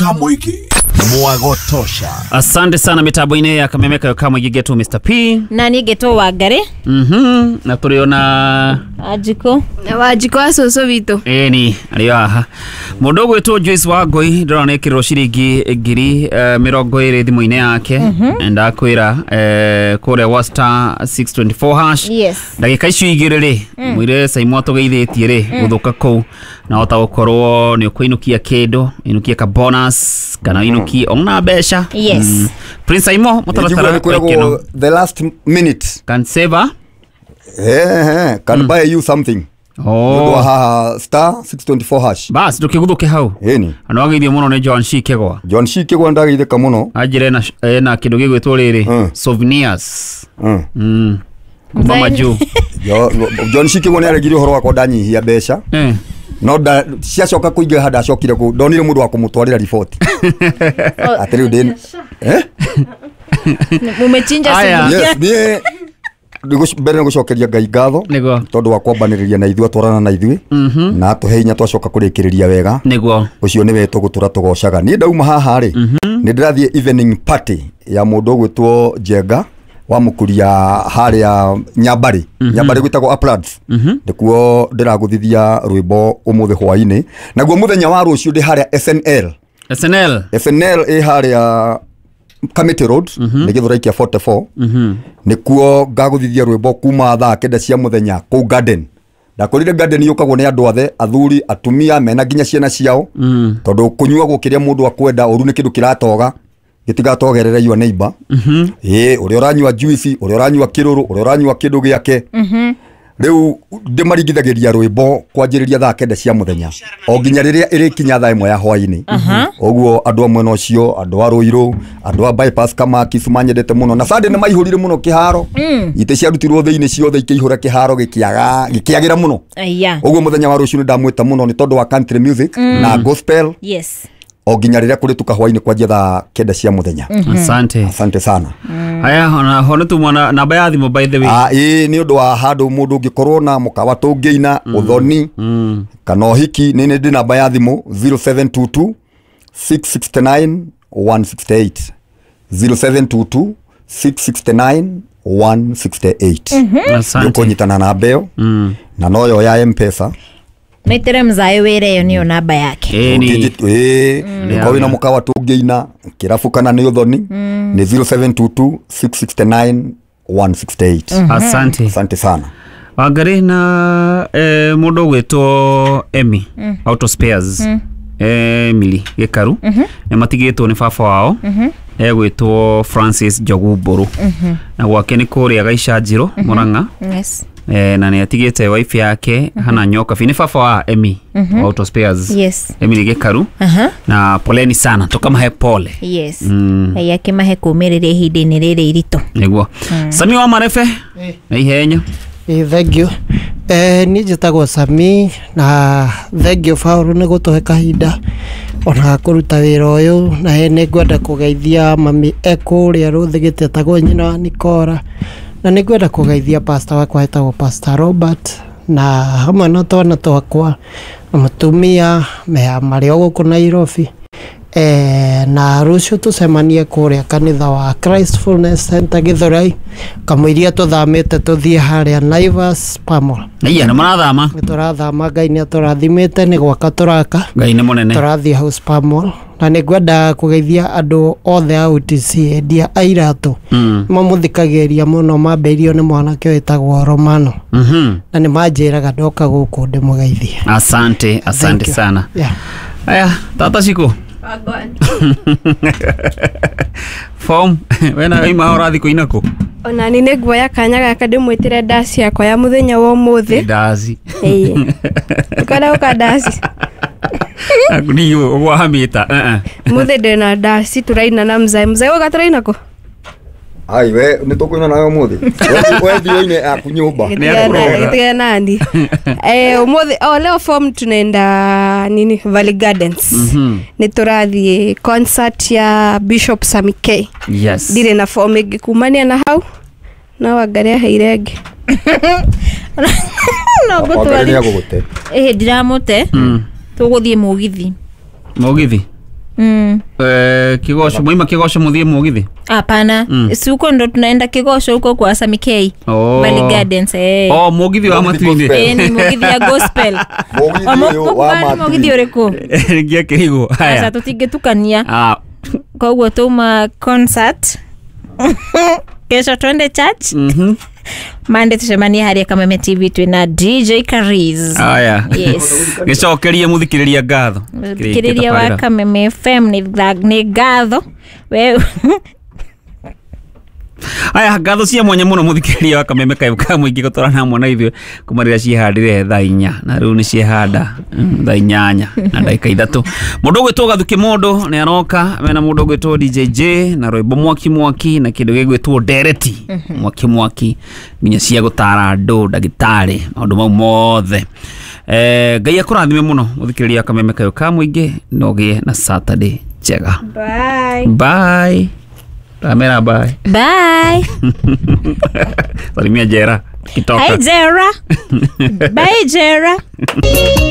Ka mũingĩ Mwagotosha. Asante sana mitambo-inĩ ya kameme kayo ka mũingĩ ngetwo Mr P. Na niĩ ngetwo Wangari. Na tũrĩ ona Wanjikũ. Wanjikũ wa cũcũ witũ. Ĩni arĩ haha mũndũ ũgwĩtwo Joyce Wangũi, ndĩrona nĩ ĩkĩrĩrwo ciringi 20,000 thimũ-inĩ yake. Ndakwĩra kũrĩa wa *624#. Ndagĩka icio igĩrĩ rĩ, mwĩre Saimo atũgeithĩtie rĩ gũthũka kũu, na hota gũkorwo nĩ ũkũinũkia kĩndũ, inũkie ka bonus kana inũkie ona mbeca. Prince Saimo, mũtaratara nĩ wa ikeno. kwĩragwo the last minute Can save a can buy you something. Nĩ ũndũ wa Oh. haha *624#. Bas ndũkĩgũthũke hau. Ĩni. Na wageithio mũno nĩ John Shikegwa. John Shikegwa ndageithĩka mũno. Anjĩra ena kĩndũ gĩgwĩtwo rĩrĩ souvenirs kuma majuu. John Shikegwa nĩ aregire ũhoro wakwa ndanyihia mbeca. No ciacoka kũingĩha ndacokire kũ ndonire mũndũ wa kũmũtwarĩra riboti atĩ rĩu ndĩ eh? Mumechinja Aya. sufuria. Yes, niĩ mbere nĩ gũcokeria Ngai ngatho Nĩguo. tondũ wa kwambanĩrĩria na ithuĩ, atwarana na ithuĩ na atũhe hinya twacoka kũrĩkĩrĩria wega. Nĩguo. Ũcio nĩwe tũgũtũra tũgocaga. Niĩ ndauma haha rĩ, nĩ ndĩrathiĩ evening party ya mũndũ ũgwĩtwo Njenga wa mũkuria harĩa Nyambarĩ. Nyambarĩ gwĩtagwo Uplands. Nĩkuo ndĩragũthithia rwĩmbo ũmũthĩ hwainĩ, naguo mũthenya wa rũciũ ndĩ harĩa SNL. SNL. SNL ĩ harĩa Kamiti Road, nĩ Gĩthũrai kĩa 44. Nĩkuo ngagũthithia rwĩmbo kuma thaa 9 cia mũthenya kũu garden. Ndakorire garden yũkagwo nĩ andũ othe, athuri, atumia, mena nginya ciana ciao, tondũ kũnyuagwo kĩrĩa mũndũ akwenda. Ũru nĩ kĩndũ kĩratoga, gĩtigatogerere your neighbor. Ĩĩ, ũrĩa ũranyua juice, ũrĩa ũranyua kĩrũrũ, ũrĩa ũranyua kĩndũ gĩake. Rĩu ndĩmaringithagĩria rwĩmbo kwanjĩrĩria thaa 9 cia mũthenya o nginya rĩrĩa ĩrĩkinya thaa 1 ya hwainĩ. Ũguo andũ a mwena ũcio, andũ a Rũirũ, andũ a bypass Kamaki manyendete mũno, na Sunday nĩ maihũrire mũno kĩharo. Itĩ ciarutirwo thĩinĩ ciothe ikĩihũra kĩharo, gĩkĩaga gĩkĩagĩra mũno. Aya. Ũguo mũthenya wa rũciũ nĩ ndamwĩta mũno nĩ tondũ wa country music na gospel o nginya rĩrĩa kũrĩtuka hwainĩ kwanjia thaa 9 cia mũthenya. Asante. Asante sana. Aya, ona ho nĩtumwa na namba ya thimũ, by the way. Ah, ĩĩ, nĩ ũndũ wa handũ mũndũ ũngĩkorwo na mũkawa tũngĩina ũthoni kana ũhiki, nĩ ndĩ namba ya thimũ 0722 669 168, 0722 669 168. Asante. Nĩũkũnyitana namba ĩyo na noyo ya Mpesa. Maitere mzae wĩra, ĩyo nĩyo namba yake. Ĩni. Ĩĩ, ũkorwo wĩna mũkawa tũngĩina kĩrabu kana nĩ ũthoni, nĩ 0722 669 168. Asante. Asante sana. Wangari na mũndũ ũgwĩtwo Emi Auto Spares, Emily Gĩkaru, nĩ matigĩtwo nĩ baba wao egwĩtwo Francis Njogu Mbũrũ, na gwake nĩ kũrĩa Gaicanjirũ, Mũrang'a. Na nĩ atigĩte wife yake hana Nyokabi. Nĩ baba wa Emi Auto Spares, Emily Gĩkaru. Na poleni sana, tũkamahe pole. Ngai akĩmahe kũũmĩrĩria ihinda-inĩ rĩrĩ iritũ. Nĩguo. Sami wa Marebe na ihenya. Thank you. Niĩ njĩtagwo Sami, na thank you Paul nĩ gũtũhe kahinda ona ga kũruta wĩra ũyũ. Na nĩ ngwenda kũgeithia mami e kũrĩa Rũthĩgĩte, etagwo nyina wa Nikora, na nĩ ngwenda kũgeithia pastor wakwa etagwo Pastor Robert, na hamwe na twana twakwa na mũtumia marĩ o gũkũ Nairobi. Na rũciũ tũcemanie kũrĩa kanitha wa Christ Fullness Center Gĩthũrai, kamũiria tũthamĩte tũthiĩ harĩa Naivas Pamol. Aya, nĩ mũrathama? Nĩ tũrathama, Ngai nĩ atũrathimĩte, nĩ gwaka tũraka. Ngai nĩ mũnene. Tũrathiĩ House Pamol, na nĩ ngwenda kũgeithia andũ othe a UTC, endia a iratũ. Mamũthikagĩrĩria mũno, mambĩirio nĩ mwanake wĩtagwo Romano. Na nĩ manjĩraga ndoka gũkũ ndĩmũgeithie. Asante, asante Thank you. sana. Yeah. Aya, tata Shiko. Form, wena ima ũrathiĩ kũina kũ? Ona ni nĩ nguoya kanya gaka ndĩmwĩtĩre ndaci yakwa ya mũthenya wa ũmũthĩ. Ndaci. Ĩĩ. Ũkwenda gũka ndaci? Ni ũgwahamĩta. Mũthĩ ndĩna ndaci tũraina na mzae. Mzae, ũga tũraina kũ? Ai, we nĩ tũkũina nawe ũmũthĩ. We thiĩ ũine aku nyũmba. Nĩ akũroga. Gĩtigana nani. Ũmũthĩ, oh, leo form tunaenda nini, Valley Gardens. Nĩ tũrathiĩ concert ya Bishop Sami K. Ndirĩ na form ĩngĩ kumania na hau, no Wangari aheire ĩngĩ. No Wangari ngũtwari. nĩ agũgũte. Ĩhĩ, ndiramũte. Tũgũthiĩ mũgithi. Mũgithi. Kigosho mwaima Kigosho muthie mugithi. Hapana, si huko ndo tunaenda Kigosho huko kwa Sami K. Oh. Valley Gardens eh. Oh, mugithi wa Mugithi matuinĩ. gospel. Eh, ni mugithi ya gospel. Mũgithi ũyũ wa Mũgithi matuinĩ. ũrĩkũ? Ngiakĩrigwo. Aca Haya. tũtingĩtukania. Ah, Koguo tuma concert. Kesho twende church. Mande tucemanie harĩa Kameme TV twĩna DJ Kariz. Haya. Yes. Gĩcokerie mũthikĩrĩria ngatho. Mũthikĩrĩria wa Kameme FM nĩ ngatho. We Aya, ngatho cia mwanya muno mũthikĩrĩria wa Kameme kaĩ ka mũingĩ gũtwarana hamwe na ithuĩ kuma rĩrĩa ciĩhandire thaa 4 na rĩu nĩ ciĩhanda thaa 8 na ndagĩka 3. Mũndũ ũgwĩtwo Gathuki Mũndũ nĩ aroka mena mũndũ ũgwĩtwo DJ J na rwĩmbo mwaki mwaki na kĩndũ gĩgwĩtwo ndereti mwaki mwaki nginya cia gũtara andũ ndagĩtarĩ maũndũ mau mothe. Ngai akũrathime mũno mũthikĩrĩria wa Kameme kaĩ ka mũingĩ na ũgĩe na Saturday njega. Bye. Bye. Ramera bye. Bye. Salimia Jera. Kitoka. Hi Jera. Bye Jera.